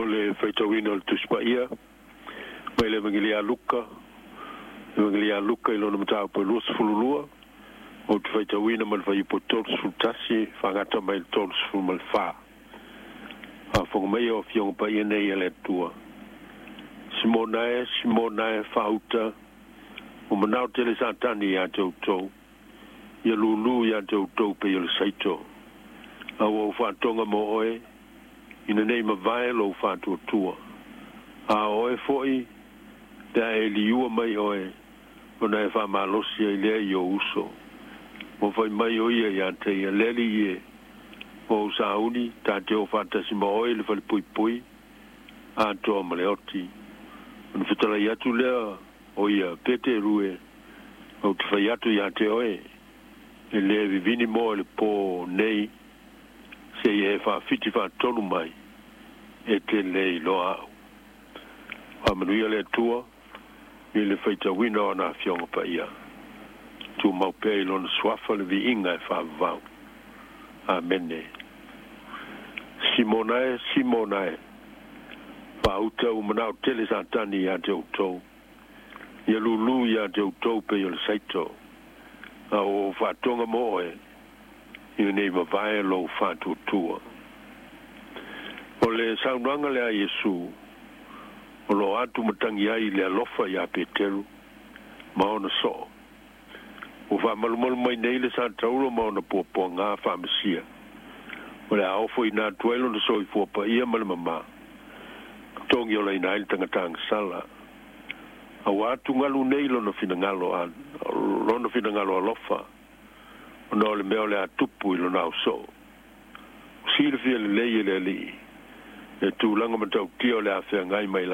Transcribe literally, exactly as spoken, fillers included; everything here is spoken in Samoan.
Le faitauina o le Tusi Paia mai le Evagelia a Luka, Evagelia a Luka i lona mataupu e luasefululua, ou te faitauina ma le fuaiupu e tolusefulu tasi faagata mai le tolusefulu ma le fa. Faafofoga mai o Afioga Paia nei a le Atua. Simona e, Simona e, faauta, ua manao tele Satani iā te outou, ia lūlū iā te outou pei o le saito. A ua ou faatoga mo oe, ina nei mavae lou faatuatua. A o oe foi, pe a e liua mai oe, ona e faamalosi ai lea i ou uso. Ua fai mai o ia iā te ia, le Alii e, ua ou sauni, ta te o faatasi ma oe i le falepuipui, atoa ma le oti. Ona fetalai atu lea o ia, Peteru e, ou te fai atu iā te oe, e lē vivini moa i le pō nei, seia e faafiti faatolu mai, e te lē iloa au. Faamanuia le Atua i le faitauina o ana Afioga Paia. Tumau pea i lona suafa le viiga e faavavau. Amene. Simona e, Simona e, faauta, ua manao tele Satani iā te outou, ia lūlū iā te outou pei o le saito. A ua ou faatoga mo oe, ina nei mavae lou faatuatua. O le saunoaga lea a Iesu, o loo atu matagi ai le alofa iā Peteru ma ona soo. Ua faamalumalu mai nei le sataulo ma ona puapuagā faamesia. O le a ofoina atu ai lona soifua paia ma le mamā. Togi olaina ai le tagatagasala. A ua atugalu nei lona finagalo, a, lona finagalo alofa, ona o le mea o le a tupu i lona ausoo. Silafia lelei e le Alii, le tulaga matautia o le a feagai mai.